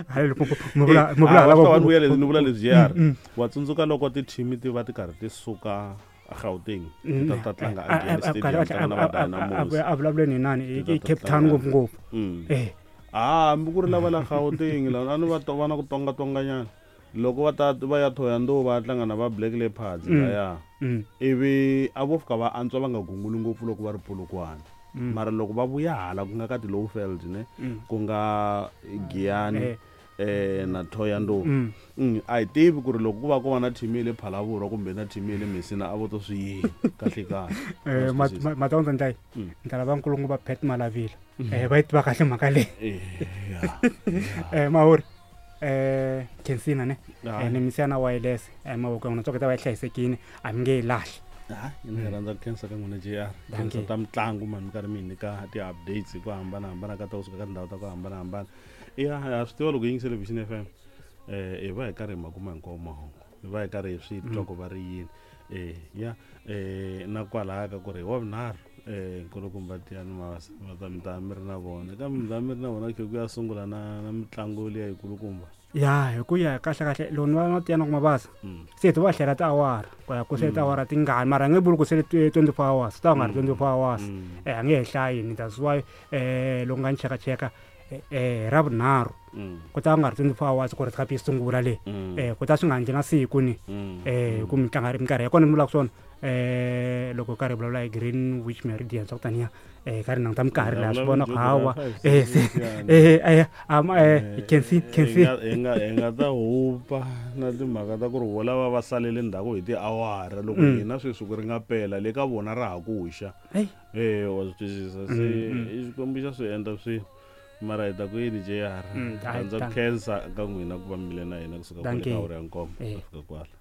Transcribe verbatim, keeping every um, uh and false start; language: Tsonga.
Hayi, loko mi vula mi vula Ah, lava wa swi tiva ni ni vula leswi J R. Mm, mm. Wa tsundzuka loko ti-team ti va ti karhi ti suka Gauteng ti ta ta tlanga A- a- again a- stadium a- tlanga na a- va a- a- Dynamos. a vulavuleni hi nani Ti i ta i ta Cape Town tlanga. ngopfungopfu. Mm. Eh. Ah, hambi ku ri lava la Gauteng la a ni va to va na ku tongatonganyana loko va ta va ya Thohoyandou va ya tlanga na va Black Leopards Mm. laya Mm. ivi a vo fika va antswa va nga gunguli ngopfu loko va ri Polokwane. Mm. Mara loko va vuya hala ku nga ka ti-Lowveld ne Mm. ku nga Giyani Eh. eh na Thohoyandou. Mm. Mm, a hi tivi ku ri loko ku va ku va na team ya le Phalaborwa kumbe na team ya le Messina a vo to swi yini kahle kahle. Eh, Wa swi twisisa? matondza ndlai Mm. ni ta lava nkulukumba Pat Malavila eh va yi tiva kahle mhaka leyi. Eh, ya. Eh mahori eh Kensina ne Ah. eh ni misiya na wireless eh mavoko ya n'wina tswaka ta va yi hlayisekile a mi nge yi lahli. Ah, ni rhandza ku khensa ka n'wina J R. Dankie. Khensa ta mitlangu mani mi karhi mi hi nyika ti-updates hi ku hambanahambana ka ta kusuka ka tindhawu ta ku hambanahambana. Ya ha swi tiva loko hi yingisele Vision F M eh hi va hi karhi hi ma kuma hinkwawo mahungu hi va hi karhi hi swi twa ku va ri yini. Eh ya eh na kwalaya ka ku ri hi wa vunharhu eh nkulukumba Tiyani Mabasa va ta mi ta mi ri na vona kambe mi ta mi ri na vona khe ku ya sungula na na mitlangu liya yikulukumba. Ya hi ku ya kahle kahle loko ni va na Tiyani Mabasa Mm. se hi va hlela tiawara ku ya ku se tiawara tingani mara a nge vuli ku se twenty-four hours ta nga ri twenty-four hours. Mm. Eh a nge he hlayi ni that's why eh loko nga ni chekacheka eh, eh ra vunharhu Mm. ku ta nga ri twenty-four hours ku ri cup yi sungula le. Mm. Eh ku ta swi nga endli na siku ni. Mm. Eh ku mitlanga minkarhi ya kona ni vulaka swona eh loko karhi hi vulavula hi Greenwich Meridian swa ku taniya eh karhi nanguta minkarhi laha swi vona ku hawa eh se eh eh am eh can see can see. Hi nga hi nga ta hupa na timhaka ta ku ri vo lava va salele ndzhaku hi tiawara loko Mm. hina sweswi ku ri nga pela le ka vona ra ha ku xa. Hey. Eh wa swi twisisa se Mm, mm. i Xikwembu xa swi endla swilo mara hi ta ku yini J R. Mm, hayi, Rhandza ku dankie. khensa ka n'wina ku va mi le na hina kusuka kwale Dankie. ka awara ya nkombo Eh. ku fika kwala.